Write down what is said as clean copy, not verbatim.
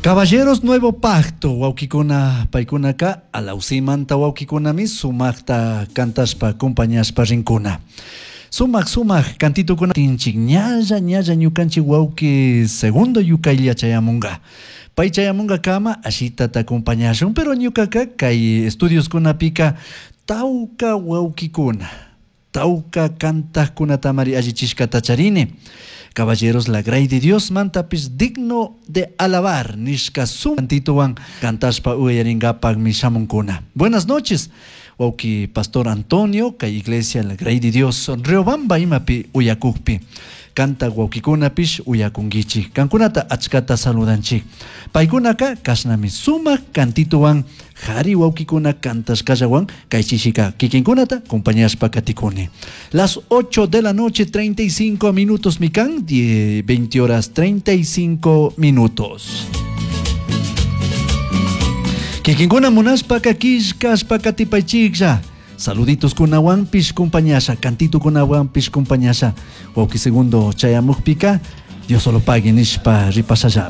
Caballeros Nuevo Pacto, wawkikuna paykunaka alawsimanta wawkikunami sumaqta kantashpa acompañashpa rinkuna. Sumak sumak kantitukuna tinchik ñalla ñalla ñukanchik wawki segundo yukaylla chayamunga. Pay chayamunga kama ashitata acompañashun, pero ñukaka kay estudioskunapika tawka wawkikuna, tawka kantakkunatamari allichishkata charini. Caballeros la Grey de Dios mantapis digno de alabar nishka sum cantituwan kantashpa uyaringapakmi shamunkuna. Buenas noches, wawki Pastor Antonio, kay iglesia la Grey de Dios Riobamba imapi uyakukpi. Kanta wawkikunapish uyakunkichik. Kankunata achkata saludanchik. Paykunaka kashnami sumak kantituwan jari wawkikuna kantashkallawan kay chishika kikinkunata acompañashpa katikuni. Las 8 de la noche 35 minutos mikan, 20 horas 35 minutos. Kikinkuna munashpaka killkashpa katipaychiklla. Saluditos kunawanpish compañasha, cantito kunawanpish compañasha. Wawki segundo chayamukpika, Dios solo pague nishpa ripasallami.